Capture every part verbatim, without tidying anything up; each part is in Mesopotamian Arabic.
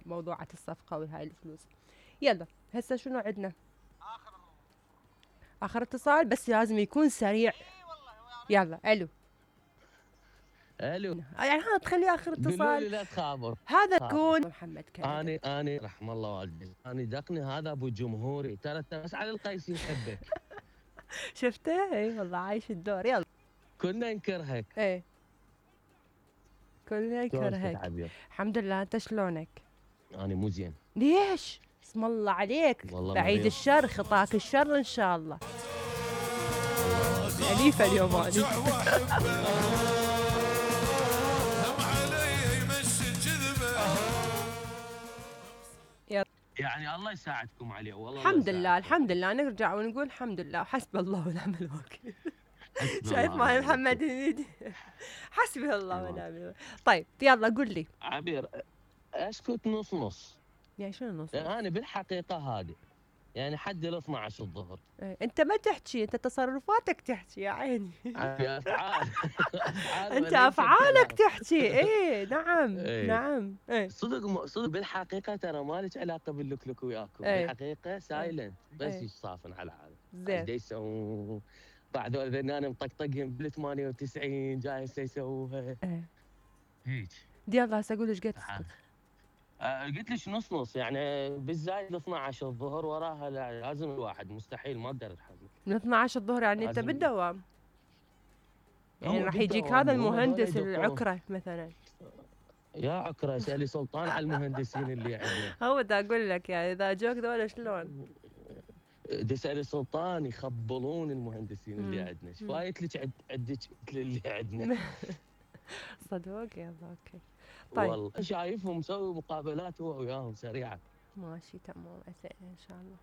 موضوعة الصفقة وهاي الفلوس. يلا هسه شنو عندنا؟ اخر اخر اتصال بس لازم يكون سريع. يلا الو الو يعني هذا تخليه اخر قولوا اتصال. لي لا تخابر. هذا يكون محمد كان. اني اني رحم الله والديك، اني دقني هذا ابو جمهوري، ترى بس على القيس يحبك. شفته؟ اي والله عايش الدور. يلا كنا نكرهك. ايه كلنا نكرهك. الحمد لله، انت شلونك؟ انا مو زين. ليش؟ اسم الله عليك، بعيد الشر، خطاك الشر ان شاء الله. أليفة اليوم أليفة. يعني الله يساعدكم عليه والله. الحمد لله الحمد لله، نرجع ونقول الحمد لله، حسب الله ونعم الوكيل. شايف معي محمد هنيدي؟ حسبي الله ونعم الوكيل. طيب يلا قول لي عبير، اسكت نص نص. يعني شنو نص؟ انا بالحقيقه هذه يعني حد ال اثنعش الظهر. ايه انت ما تحكي، انت تصرفاتك تحكي يا عيني. افعال. انت افعالك تحكي. ايه نعم ايه. نعم ايه. صدق صدق بالحقيقه ترى ما لك علاقه باللكلك وياكم. ايه. بالحقيقه سايلنت بس ايه. يصافن على هذا زين. يسوون بعد انا مطقطقهم بال ثمانية وتسعين جاي هسه يسووها. ايه هيك. يلا هسه اقول ايش قد تسكت. آه قلت لك نص نص، يعني بالزايد اثنعش الظهر وراها لازم الواحد، مستحيل ما اقدر اتحمل. من اثنعش الظهر يعني انت بالدوام، يعني راح يجيك هذا المهندس العكره مثلا. يا عكره اسالي سلطان على المهندسين اللي عندنا. هو دا اقول لك يعني اذا جوك ذولا شلون؟ تسالي سلطان يخبلون المهندسين اللي عندنا، ايش فايت لك عندك اللي عندنا؟ صدق يلا اوكي. طيب والله شايفهم مسوي مقابلات هو وياهم سريعه. ماشي تمام ان شاء الله.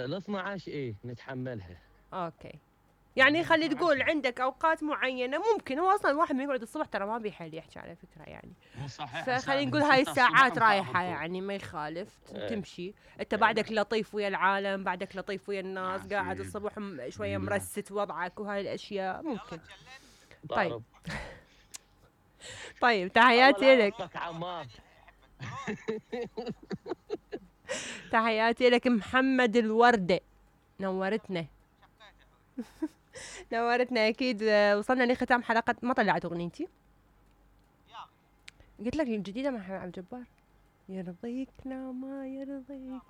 ال اثنعش ايه نتحملها. اوكي، يعني خلي تقول عندك اوقات معينه ممكن. هو اصلا الواحد من يقعد الصبح ترى ما بيحل يحكي على فكره يعني. صحيح. فخلينا نقول هاي الساعات رايحه يعني ما يخالف تمشي. انت بعدك لطيف ويا العالم، بعدك لطيف ويا الناس، قاعد الصبح شويه مرست وضعك وهاي الاشياء ممكن. طيب طيب تحياتي لك. تحياتي لك محمد الوردة، نورتنا. نورتنا اكيد. وصلنا لختام حلقة. ما طلعت اغنيتي؟ قلت لك الجديدة مع عبد الجبار، يرضيك لا ما يرضيك،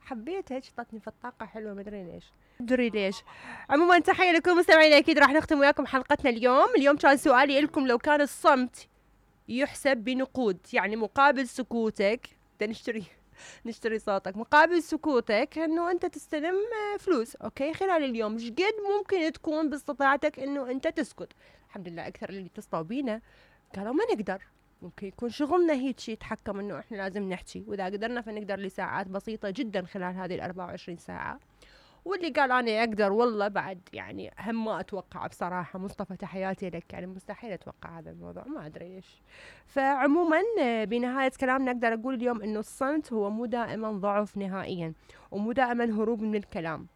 حبيتها هيك، شطتني في الطاقة حلوة ما ادري ليش. ادري ليش. عموما تحية لكم مستمعينا، اكيد راح نختم وياكم حلقتنا اليوم. اليوم كان سؤالي لكم، لو كان الصمت يحسب بنقود، يعني مقابل سكوتك نشتري نشتري صوتك، مقابل سكوتك انه انت تستلم فلوس، اوكي، خلال اليوم ايش قد ممكن تكون باستطاعتك انه انت تسكت؟ الحمد لله اكثر اللي اتصلوا بينا قالوا ما نقدر، ممكن يكون شغلنا هيك شيء يتحكم انه احنا لازم نحكي، واذا قدرنا فنقدر لساعات بسيطة جدا خلال هذه الأربعة وعشرين ساعة. واللي قال انا اقدر والله بعد يعني هم ما اتوقع بصراحه. مصطفى تحياتي لك، يعني مستحيل اتوقع هذا الموضوع، ما ادري ليش. فعموما بنهايه كلامنا اقدر اقول اليوم انه الصمت هو مو دائما ضعف نهائيا، ومو دائما هروب من الكلام.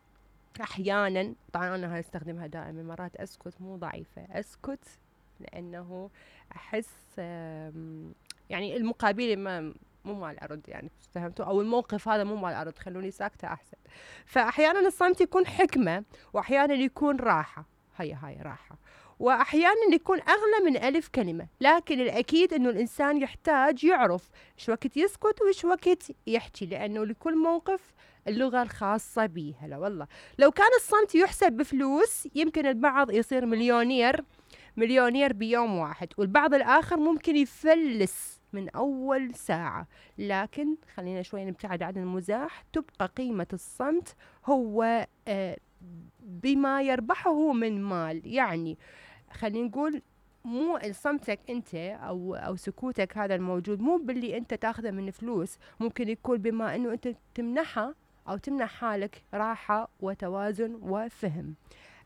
احيانا طبعا انا استخدمها دائما، مرات اسكت مو ضعيفه، اسكت لانه احس يعني المقابل ما مو مال ارد، يعني فهمتوا؟ او الموقف هذا مو مال ارد، خلوني ساكته احسن. فاحيانا الصمت يكون حكمه، واحيانا يكون راحه، هي هاي راحه، واحيانا يكون اغلى من الف كلمه. لكن الاكيد انه الانسان يحتاج يعرف ايش وقت يسكت وايش وقت يحكي، لانه لكل موقف اللغه الخاصه به. هلا والله لو كان الصمت يحسب بفلوس يمكن البعض يصير مليونير مليونير بيوم واحد، والبعض الاخر ممكن يفلس من أول ساعة. لكن خلينا شوي نبتعد عن المزاح، تبقى قيمة الصمت هو آه بما يربحه من مال. يعني خلينا نقول مو صمتك أنت أو أو سكوتك هذا الموجود مو باللي أنت تاخذه من فلوس، ممكن يكون بما أنه أنت تمنحه أو تمنح حالك راحة وتوازن وفهم.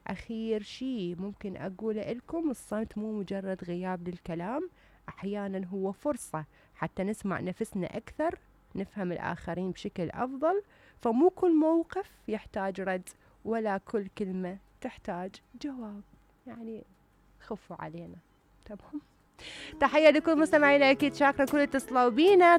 أخير شيء ممكن أقوله لكم، الصمت مو مجرد غياب للكلام، أحيانا هو فرصة حتى نسمع نفسنا أكثر، نفهم الآخرين بشكل أفضل. فمو كل موقف يحتاج رد، ولا كل كلمة تحتاج جواب، يعني خفوا علينا. تمام. تحية لكل مستمعينا، أكيد شاكرة كل اتصلوا بينا.